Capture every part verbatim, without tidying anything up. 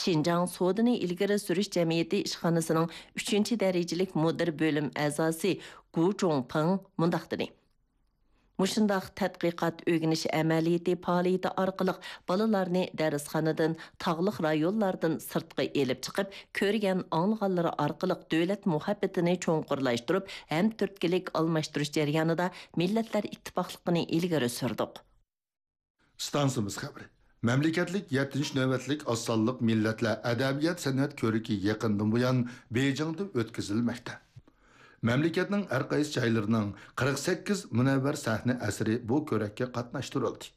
شىنجاڭ سودىنى ئىلگىرى سۈرۈش جەمئىيىتى ئىشخانىسىنىڭ ئۈچىنچى دەرىجىلىك مۇدىر بۆلۈم ئەزاسى گۇ جۇڭپىڭ مۇنداق دېدى: مۇشۇنداق تەتقىقات ئۆگىنىش ئەمەلىيىتى پائالىيىتى ئارقىلىق بالىلارنى دەرسخانىدىن، تاغلىق رايونلاردىن سىرتقا ئېلىپ چىقىپ، كۆرگەن، ئاڭلىغانلىرى ئارقىلىق دۆلەت مۇھەببىتىنى چوڭقۇرلاشتۇرۇپ، ھەمتۈرتكىلىك ئالماشتۇرۇش جەريانىدا مىللەتلەر ئىتتىپاقلىقىنى ئىلگىرى سۈردۇق. ئىستانسىمىز خەۋىرى. مەملىكەتلىك يەتتىنچى نۆۋەتلىك ئاز سانلىق مىللەتلەر ئەدەبىيات-سەنئەت كۆرىكى يېقىندىن بۇيان بېيجىڭدا ئۆتكۈزۈلمەكتە. مەملىكەتنىڭ ھەر قايسى جايلىرىنىڭ قىرىق سەككىز مۇنەۋۋەر سەھنە ئەسىرى بۇ كۆرەككە قاتناشتۇرۇلدى.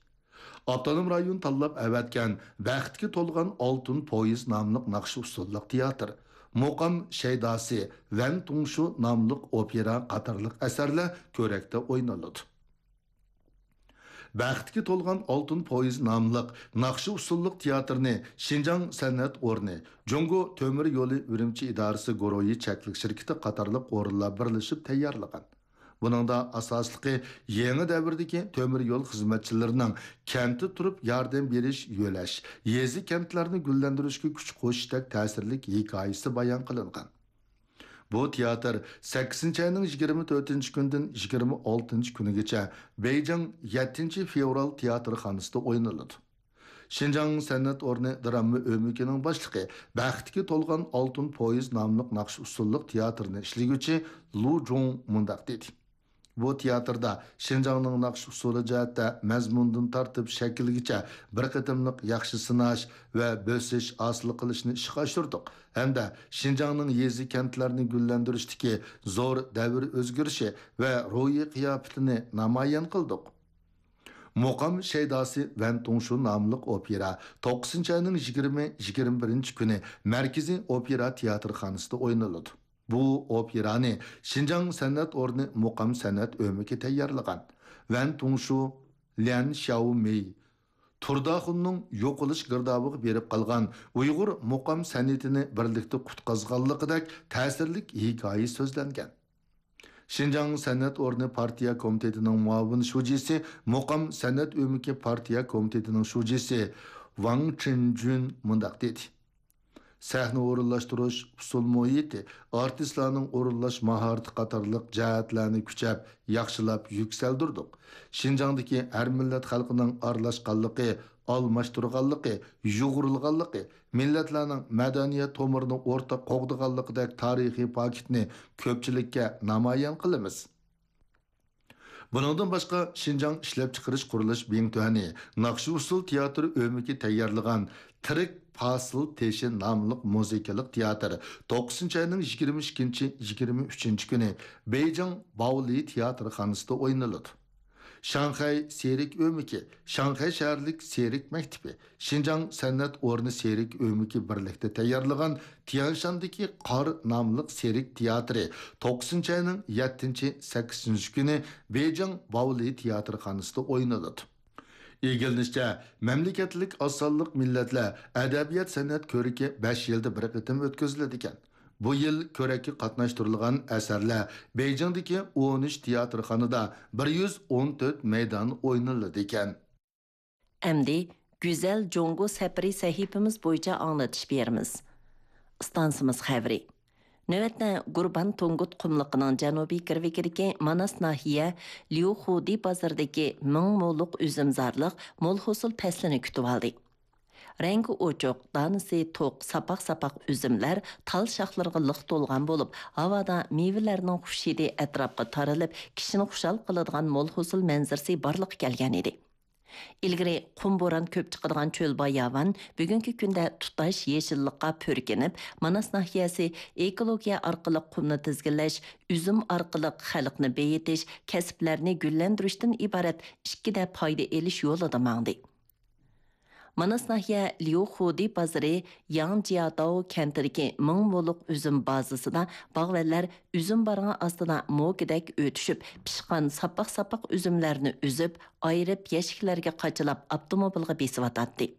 ئاپتونوم رايون تاللاپ ئەۋەتكەن بەختكە تولغان ئالتۇن پويىز ناملىق ناخشا-ئۇسسۇللۇق تىياتىر، مۇقام شەيداسى، ۋەن تۇڭشۇ ناملىق ئوپېرا قاتارلىق ئەسەرلەر كۆرەكتە ئوينىلىدۇ. بەختكە تولغان ئالتۇن پويىز ناملىق ناخشا-ئۇسسۇللۇق تىياتىرنى شىنجاڭ سەنئەت ئورنى، جۇڭگو تۆمۈر يولى ئۈرۈمچى ئىدارىسى گۇرۇھى چەكلىك شىركىتى قاتارلىق ئورۇنلار بىرلىشىپ تەييارلىغان. بۇنىڭدا ئاساسلىقى يېڭى دەۋردىكى تۆمۈر يول خىزمەتچىلىرىنىڭ كەنتتە تۇرۇپ ياردەم بېرىش، يۆلەش، يېزا-كەنتلەرنى گۈللەندۈرۈشكە كۈچ قوشۇشتەك تەسىرلىك ھېكايىسى بايان قىلىنغان. بۇ تىياتىر سەككىزىنچى ئاينىڭ يىگىرمە تۆتىنچى كۈنىدىن يىگىرمە ئالتىنچى كۈنىگىچە بېيجىڭ يەتتىنچى فېۋرال تىياتىرخانىسىدا ئوينىلىدۇ. شىنجاڭ سەنئەت ئورنى دىراما ئۆمىكىنىڭ باشلىقى، بەختكە تولغان ئالتۇن پويىز ناملىق ناخشا-ئۇسسۇللۇق تىياتىرنى ئىشلىگۈچى لۇ جۇڭ مۇنداق دېدى: بۇ تىياتىردا شىنجاڭنىڭ ناخشا-ئۇسسۇلى جەھەتتە مەزمۇندىن تارتىپ شەكىلگىچە بىر قېتىملىق ياخشى سىناش ۋە بۆسۈش ھاسىل قىلىشنى ئىشقا ئاشۇردۇق ھەمدە شىنجاڭنىڭ يېزا-كەنتلەرنى گۈللەندۈرۈشتىكى زور دەۋر ئۆزگىرىشى ۋە روھىي قىياپىتىنى نامايان قىلدۇق. مۇقام شەيداسى ۋەن تۇڭشۇ ناملىق ئوپېرا توققۇزىنچى ئاينىڭ يىگىرمە، يىگىرمە بىرىنچى كۈنى مەركىزىي ئوپېرا تىياتىرخانىسىدا ئوينىلىدۇ. بۇ ئوپېرانى شىنجاڭ سەنئەت ئورنى مۇقام سەنئەت ئۆمىكى تەييارلىغان. ۋەن تۇڭشۇ، ليەن شياۋمېي، تۇرداخۇننىڭ يوقىلىش گىردابىغا بېرىپ قالغان ئۇيغۇر مۇقام سەنئىتىنى بىرلىكتە قۇتقازغانلىقىدەك تەسىرلىك ھېكايە سۆزلەنگەن. شىنجاڭ سەنئەت ئورنى پارتىيە كومىتېتىنىڭ مۇئاۋىن شۇجىسى، مۇقام سەنئەت ئۆمىكى پارتىيە كومىتېتىنىڭ شۇجىسى ۋاڭ چىنجۈن مۇنداق دېدى: سەھنە ئورۇنلاشتۇرۇش، ئۇسسۇل مۇھىتى، ئارتىسلارنىڭ ئورۇنلاش ماھارىتى قاتارلىق جەھەتلەرنى كۈچەپ، ياخشىلاپ يۈكسەلدۈردۇق. شىنجاڭدىكى ھەر مىللەت خەلقىنىڭ ئارىلاشقانلىقى، ئالماشتۇرغانلىقى، يۇغۇرۇلغانلىقى، مىللەتلەرنىڭ مەدەنىيەت تومۇرىنى ئورتاق قوغدىغانلىقىدەك تارىخىي پاكىتنى كۆپچىلىككە نامايان قىلىمىز. بۇنىڭدىن باشقا، شىنجاڭ ئىشلەپچىقىرىش قۇرۇلۇش بىڭتۈەنى ناخشا-ئۇسسۇل تىياتىر ئۆمىكى تەييارلىغان تىرىك پاسىل تېشى ناملىق مۇزىكىلىق تىياتىر توققۇزىنچى ئاينىڭ يىگىرمە ئىككىنچى، يىگىرمە ئۈچىنچى كۈنى بېيجىڭ باۋلى تىياتىرخانىسىدا ئوينىلىدۇ. شاڭخەي سېرك ئۆمىكى، شاڭخەي شەھەرلىك سېرك مەكتىپى، شىنجاڭ سەنئەت ئورنى سېرك ئۆمىكى بىرلىكتە تەييارلىغان تيەنشاندىكى قار ناملىق سېرك تىياتىرى توققۇزىنچى ئاينىڭ يەتتىنچى، سەككىزىنچى كۈنى بېيجىڭ باۋلى تىياتىرخانىسىدا ئوينىلىدۇ. ئىگىلىنىشىچە، مەملىكەتلىك ئاز سانلىق مىللەتلەر ئەدەبىيات-سەنئەت كۆرىكى بەش يىلدا بىر قېتىم ئۆتكۈزۈلىدىكەن. بۇ يىل كۆرەككە قاتناشتۇرۇلغان ئەسەرلەر بېيجىڭدىكى ئون ئۈچ تىياتىرخانىدا بىر يۈز ئون تۆت مەيدان ئوينىلىدىكەن. ئەمدى گۈزەل جۇڭگو سەپىرى سەھىپىمىز بويىچە ئاڭلىتىش بېرىمىز. ئىستانسىمىز خەۋىرى. نۆۋەتتە گۇربان تۇڭگۇت قۇملۇقىنىڭ جەنۇبىي گىرۋىكىدىكى ماناس ناھىيە ليۇخۇدى بازىرىدىكى مىڭ مولۇق ئۈزۈمزارلىق مول ھوسۇل پەسلىنى كۈتۈۋالدى. رەڭگى ئوچۇق، دانىسى توق، ساپاق-ساپاق ئۈزۈملەر تال شاخلىرىغا لىق تولغان بولۇپ، ھاۋادا مېۋىلەرنىڭ خۇش ھىدى ئەتراپقا تارىلىپ، كىشىنى خۇشال قىلىدىغان مول ھوسۇل مەنزىرىسى بارلىققا كەلگەن ئىدى. ئىلگىرى قۇم بوران كۆپ چىقىدىغان چۆل باياۋان بۈگۈنكى كۈندە تۇتاش يېشىللىققا پۈركىنىپ، ماناس ناھىيەسى ئېكولوگىيە ئارقىلىق قۇمنى تىزگىنلەش، ئۈزۈم ئارقىلىق خەلقنى بېيىتىش، كەسىپلەرنى گۈللەندۈرۈشتىن ئىبارەت ئىككىدە پايدا ئېلىش يولىدا ماڭدى. ماناس ناھىيە ليۇخۇدى بازىرى ياڭجياداۋ كەنتىدىكى مىڭ مولۇق ئۈزۈم بازىسىدا باغۋەنلەر ئۈزۈم بارغان ئاستىدا موكىدەك ئۆتۈشۈپ، پىشقان ساپاق-ساپاق ئۈزۈملەرنى ئۈزۈپ، ئايرىپ، يەشىكلەرگە قاچىلاپ، ئاپتوموبىلغا بېسىۋاتاتتى.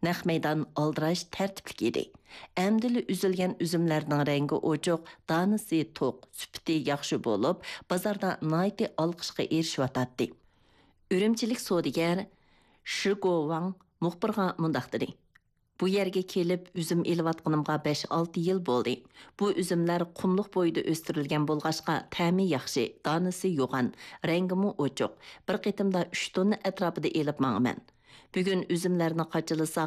نەق مەيدان ئالدىراش، تەرتىپلىك ئىدى. ئەمدىلا ئۈزۈلگەن ئۈزۈملەرنىڭ رەڭگى ئوچۇق، دانىسى توق، سۈپىتى ياخشى بولۇپ، بازاردا ناھايىتى ئالقىشقا ئېرىشىۋاتاتتى. ئۈرۈمچىلىك سودىگەر شى گوۋاڭ مۇخبىرغا مۇنداق دېدى: بۇ يەرگە كېلىپ ئۈزۈم ئېلىۋاتقىنىمغا بەش-ئالتە يىل بولدى. بۇ ئۈزۈملەر قۇملۇق بويىدا ئۆستۈرۈلگەن بولغاچقا، تەمى ياخشى، دانىسى يوغان، رەڭگىمۇ ئوچۇق. بىر قېتىمدا ئۈچ توننا ئەتراپىدا ئېلىپ ماڭىمەن. بۈگۈن ئۈزۈملەرنى قاچىلىساق،